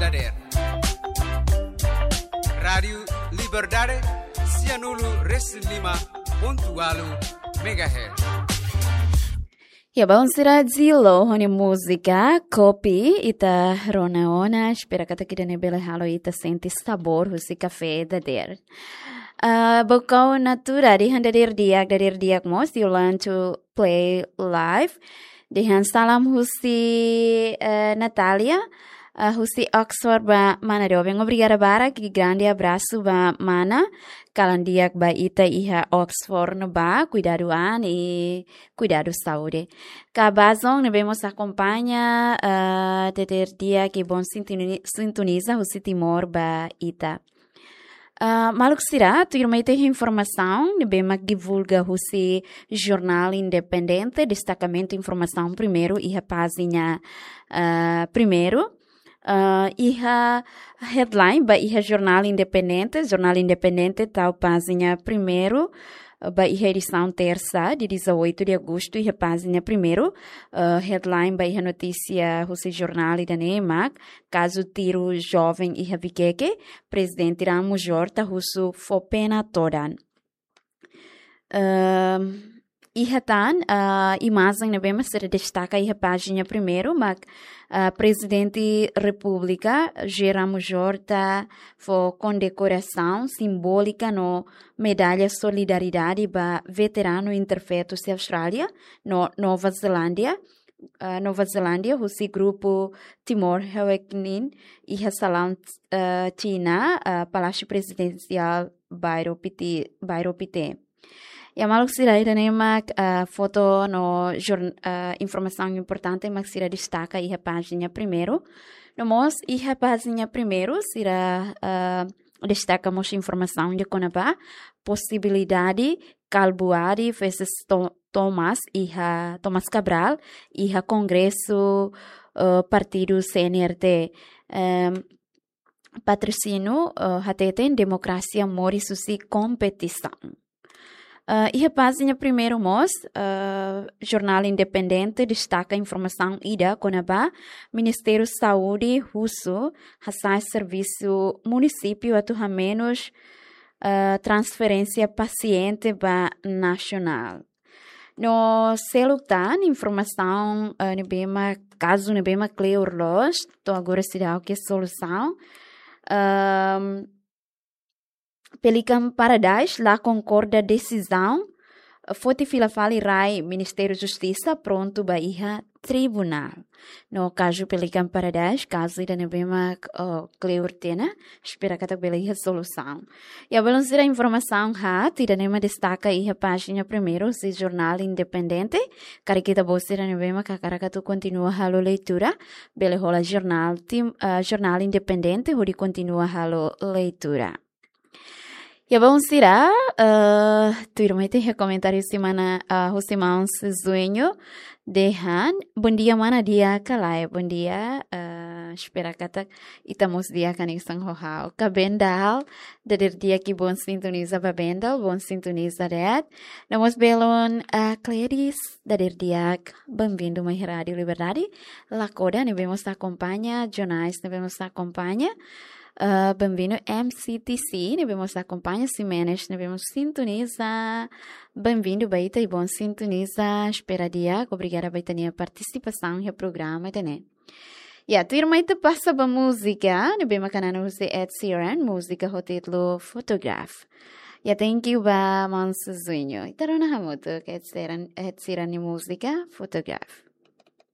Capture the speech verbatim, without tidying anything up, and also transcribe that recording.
Dader. Rádiu Liberdade, sianulu resin lima pontu ualu megahertz. Ya, baun sira, Zilo ho nia múzika Kopi, ita rona ona, espera katak ida-ne'e bele halo ita sente sabór husi kafé dader. Ah, bokau natura, dehan dader di'ak, dader di'ak mós, you learn to play live. Dehan salam husi, eh, Natalia, eh, husi Oxford ba mana doben. Obrigada barak, i grande abrasu ba mana. Kalan di'ak ba ita iha Oxford ne'ebá, kuidadu an i kuidadu saúde. Ka Bazon ne'ebé mós akompaña, eh, dader di'ak i bom sintoni-, sintoniza husi Timor ba ita. Ah, maluk sira, tuirmai ita iha informasaun ne'ebé mak divulga husi Jornál Independente, destakamentu informasaun primeiru iha pájina, ah, primeiru. Ah, iha headline ba iha Jornál Independente, Jornál Independente tau pájina primeiru, ah, ba iha edisaun tersa, dia dezoito de agosto, iha pájina primeiru, ah, headline ba iha notísia husi jornál ida-ne'e mak, kazu tiru joven iha Vikeke, Prezidente Ramos Horta husu fó pena todan. Ehm, iha tan, ah, imajen ne'ebé mak sira destaka iha pájina primeiru, mak, ah, Prezidente Repúblika, José Ramos Horta, fó kondekorasaun simbólika no medalla solidariedade ba veteranu interfeto husi Austrália no Nova Zelándia, ah, Nova Zelándia, husi grupu Timor Awakening, iha salaun, ah, Xina, ah, Palásiu Prezidensiál, bairru Piti, bairru Pité. Ya, maluk sira, ida-ne'e mak, ah, foto no jor-, ah, informasaun importante mak sira destaka iha pájina primeiru. No mós iha pájina primeiru, sira, ah, destaka mós informasaun ida kona-ba posibilidade Kalbuadi versus To-, Thomas iha, Thomas Cabral iha Kongresu, eh, partidu C N R T. Em, Patrocínio, eh, hateten demokrasia moris husi kompetisaun. Eh, iha pájina primeiru mós, eh, Jornál Independente destaka informasaun ida kona-ba Ministériu Saúde husu hasa'e servisu munisípiu atu hamenus, eh, transferénsia pasiente ba nasionál. No seluk tan informasaun, eh, ne'ebé mak, kazu ne'ebé mak kleur loos, to'o agora seidauk iha solusaun. Ehm, Pelican Paradise la konkorda desizaun foti fila fali rai Ministériu Justisa prontu ba iha tribunál. No kazu Pelican Paradise, kazu ida ne'ebé mak, oh, kleur tiha ona, espera katak bele iha solusaun. Ya, belun sira, informasaun haat ida-ne'e mak destaka iha pájina primeiru husi Jornál Independente. Karik ita-boot sira ne'ebé mak hakarak atu kontinua halo leitura, bele hola jornál Tim-, ah, Jornál Independente hodi kontinua halo leitura. Ya, belun sira, eh, tuirmai ita iha komentáriu husi mana, ah, husi maun Zuenho dehan, "Bondia mana, di'ak ka lae?" Bondia, eh, espera katak ita mós di'ak hanesan ho ha'u. Ka Bendal, dader di'ak i bom sintoniza ba Bendal, bom sintoniza de'it. No mós belun, eh, Cledis, dader di'ak, bem-vindo mai Rádiu Liberdade. Lakoda ne'ebé mós akompaña, Jonais ne'ebé mós akompaña. Eh, bem-vindo M C T C, ne'ebé mós akompaña, Ximenes ne'ebé mós sintoniza. Bem-vindo ba ita i bom sintoniza. Espera di'ak, obrigada ba ita-nia partisipasaun iha programa ida-ne'e. Ya, tuirmai ita pasa ba múzika ne'ebé mak hanan husi Ed Sheeran, múzika ho títulu Photograph. Ya, thank you ba maun Zuenho. Ita rona hamutuk Ed Sheeran, Ed Sheeran nia múzika Photograph.